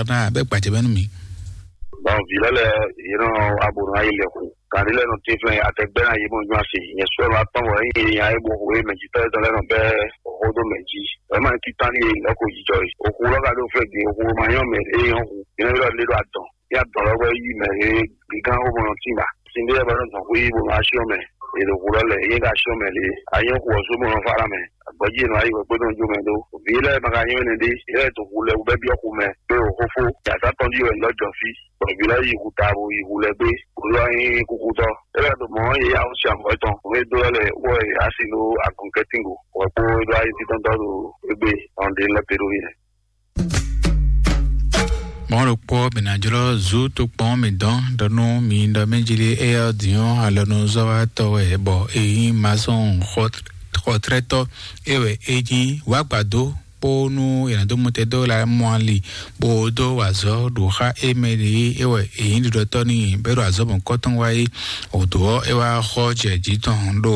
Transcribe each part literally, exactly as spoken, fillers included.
ná bɛ gbajɛ mɛ nú mi. Bɔn vǐ lɛ́ lɛ́ɛ yě nɔ abǒ nɔ yi lɛ́ xu. Gǎn ɖé lɛ́ɛ nɔ tín flɛ́n atɛgbɛ́ ná yě mɔ nyɔ́ asi. Nyɛ sɔ́ nɔ atɔ́n bɔ ényí yě nya é bo xo é mɛ jítɔ́ étɔn lɛ́ɛ nɔ bɛ́ xó dó mɛ jí. Wěma ní títán ní e lɛ́ ko jijɔ yi. Òxu lɔ́ ka ɖó fɛ́ din, òxu ma nyɔ́ mɛ é nyɔ́ hu. Yě nɔ ylɔ́ lé ɖo adɔn. Yá dɔn lɔ́ wɛ yí mɛ e gígán xó mɔ nɔ tín ba. Sin ɖé ba nɔ zɔn xwé bó nɔ asyɔ́ mɛ. È ɖo xu lɔ́ lɛ, yé ka asyɔ́ mɛ lě. A nyɔ́ xu ɔ́ sú bó nɔ fá ná mɛ. Agbɔjí è nɔ ayi wɛ kpódó njú mɛ ɖó. Vǐ lɛ́ɛ ma ka nyɔ́ énɛ́ ɖé. Yě lɛ́ɛ to xu lɛ wú bɛ́ byɔ́ xu mɛ. Pé o xófó. Yàtá tɔn ɖi wɛ lɔ jɔ fí. Bɔ vǐ lɛ́ɛ yi xu ta bo yi xu lɛ gbé. Xu lɔ nyí kúkútɔ́. É lɛ́ɛ ɖo mɔ̌ yě yá wú sí amɔ̌ tɔn. Nǔ e dó lɛ́ lɛ wɔ yě asi ɖó agɔnkɛ́tíngo. Wɛ kpó é ɖó ayé títɔ́ntɔ́ ɖo égbé. Ɔn ɖě lɛ́ pé ɖó yě. Mɔ̌ ɖokpó mǐ ná jlɔ́ zú tokpɔn mǐ dɔn ɖɔ nú mi ɖɔ mɛ jí lé éyɛ́ ɔ́ dǐn ɔ́ alɔnuzɔ́watɔ́ wɛ bɔ é nyí masɔn xɔtrɛ́tɔ́ é wɛ é nyí wǎgbadó kpó nú è nǎ dó mɔtɛdó la mɔ ali bó dó wa azɔ̌ ɖo xá é mɛ ɖě é wɛ è nyí ɖiɖɔtɔ́ n'i bɔ é ɖo azɔ̌ mɔ̌kɔ́tɔn wá é. Wǒdó ɔ́ é wá xɔ jɛ jǐ tɔn ɖo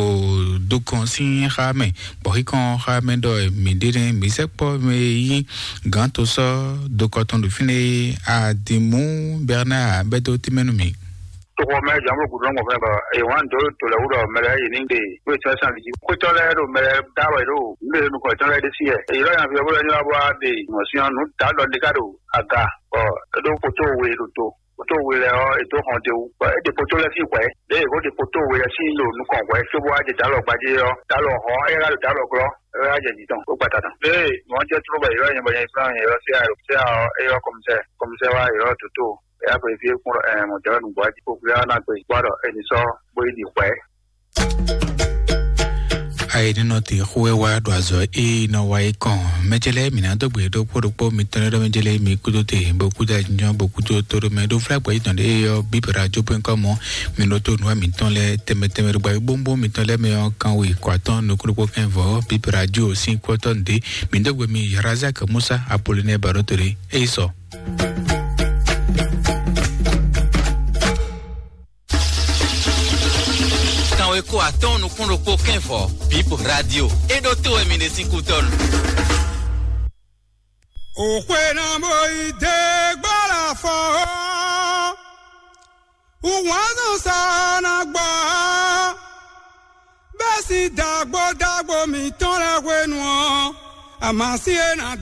dukɔn sín xá mɛ bɔ xíkɔn xá mɛ ɖɔ mǐ ɖe nɛ́ mǐ sɛkpɔ́ mɛ e nyí gǎn to sɔ́ dokɔ tɔn ɖo fínɛ́ é. Adimú Bernard bɛ́ dó tínmɛ nú mì. Toxɔ mɛ jǎn bó gǔdo nɔ́ gbɔn fɛ́nɛ bɔ èyí wǎn dó to lɛ́ wú ɖɔ mɛ lɛ́ɛ yi ní ɖe wé tɔ́ sàn jí. Xwétɔ́ lɛ́ɛ ɖo mɛ lɛ́ɛ dá wɛ ɖo nǔ ɖe nukɔn tɔn lɛ́ɛ ɖésú yɛ. Èyí lɔ́ nya fi ɔ́ bó lɛ́ nylá bó wá ɖe mɔ̌ sín ɔ́, nǔ dǎ ɖɔ ɖé ká ɖo aga bɔ é ɖó kótó we ɖo to. Kótó we lɛ́ɛ ɔ́, è dó hɔn d'é wú. Bɔ é ɖe kótó lɛ́ɛ sín hwɛ̌. Lě e è ko ɖe kótó we lɛ́ɛ sín ɖo nukɔn hwɛ̌ cóbó wá jɛ dǎlɔ gbadé ɔ́, dǎlɔ hɔn ɔ́, é ká ɖo dǎlɔ glɔ́, é wá jɛ jǐ tɔn, bó gbata tɔn. Lě e nǔ ɔ́ jɛ tló bɔ è ylɔ́ nyɛ bɔ nyɛ yi flán nyɛ ylɔ́ C I A, C I A ɔ́, é ylɔ́ kɔmísɛ́, kɔmísɛ́ wá ylɔ́ dǒtó, é wá xweyǐ fí é kún ɖɔ ɛɛ mɔ̌ jɛ wɛ nǔgbó wá jí kó xwlé ɔ́ ná gbe, bó wá ɖɔ è nǐ sɔ́ bó yi ɖi hwɛ̌. Ayǐ nínɔ te xó wɛ wá ɖo azɔ̌ e nɔ wa é kɔn. Mɛjɛlɛ mǐ ná dó gbe ɖokpó ɖokpó mitɔn lɛ́ɛ ɖɔ mɛjɛlɛ mi kúdó te bó kúdó ajínjɔ́n bó kúdó tóɖó mɛ ɖó flá gbɔ̌ yítɔn ɖé ɔ́ bíbra jó pé ŋkɔ mɔ mi ɖó tó nǔwa mitɔn lɛ́ɛ tɛmɛ tɛmɛ ɖo gbàgbé bóńbó mitɔn lɛ́ɛ mɛ ɔ́ kan we kɔ atɔ́ nukúnnukpó kɛnvɔ́ bíbra jó sín kɔ́tɔ́ nǔɖé. Mi dó gbe mi Razak Musa Apolinɛ Baɖótole é yi sɔ. Kanweko atɔ́ɔ́n nukún ɖokpó kɛ́nvɔ́ Bib Radio. É ɖó tó wɛ mi ɖe sín kútɔ́nu. Òxwe ná bó yi dé gbára fɔ ɔ́, wúwǎn zɔn sa ná gbɔ ɔ́, bɛ́ sín dàgbó dàgbó mǐtɔn lɛ́ɛ hwenu ɔ́, àmásí e ná